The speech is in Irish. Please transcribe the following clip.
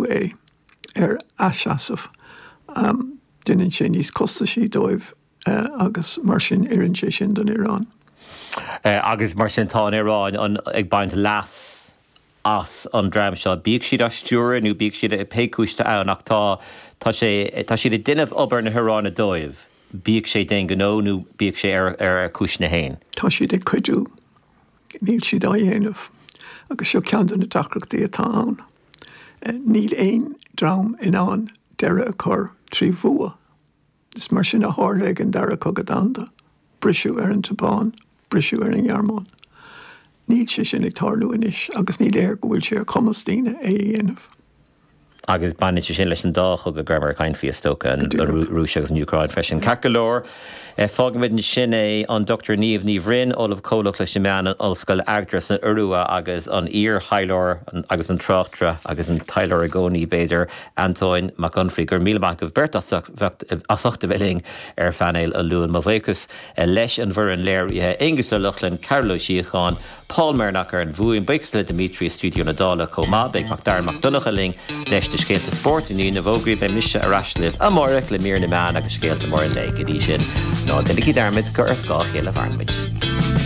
é ar a seasamh. Déanann sé níos costasaí dóibh agus mar sin oireann sé sin don Iaráin. Agus mar sin tá an Iaráin ag baint leas as an dream seo, bíodh siad á stiúradh nó bíodh siad pé cúis atá ann ach tá tá sé tá siad ag déanamh obair na hIaráine dóibh, bíodh sé d'aon ghnó nó bíodh sé ar ar a cúiseanna féin. Tá siad ag cuidiú. Níl siad á dhéanamh. Agus seo ceann de na deacrachtaí atá ann. Níl aon dream in ann deireadh a chur trí bhua. Is mar sin a tharla ag an Dara Cogadh Domhanda. Briseadh ar an tSeapáin, briseadh ar an nGearmáin. Níl sé sin ag tarlú anois agus ní léir go bhfuil sé ar chumas daoine é a dhéanamh. Agus baineann sé sin leis an dá chogadh go rabhamar ag caint faoi, is dócha, an Rúis agus an Úcráin freisin. Ceart go leor, fágfaimid ansin é. An Dr Niamh Ní Bhroin, Ollamh Comhlach leis na Meáin in Ollscoil Agder san Iorua agus an iar-thaidhleoir agus an tráchtaire agus an taidhleoir i gcónaí, b'fhéidir, Antóin Mac Unfraidh. Go raibh míle maith agaibh beirt as ucht a bheith linn ar phainéal an Luain. Mo bhuíochas leis an bhfoireann léirithe, Aengus Ó Lochlainn, Cearbhall Ó Síocháin, Paul Mernock ar an bhfuaim. Buíochas le Dimitri i stiúideo na Dála chomh maith. Beidh Macdara Mac Donncha linn leis na scéalta spóirt i ndiaidh na bhfógraí. Beidh mise ar ais libh amárach le mír na meán agus scéalta móra an lae. Go dtí sin, ná déanaigí dearmad gur ar scáth a chéile a mhaireann muid.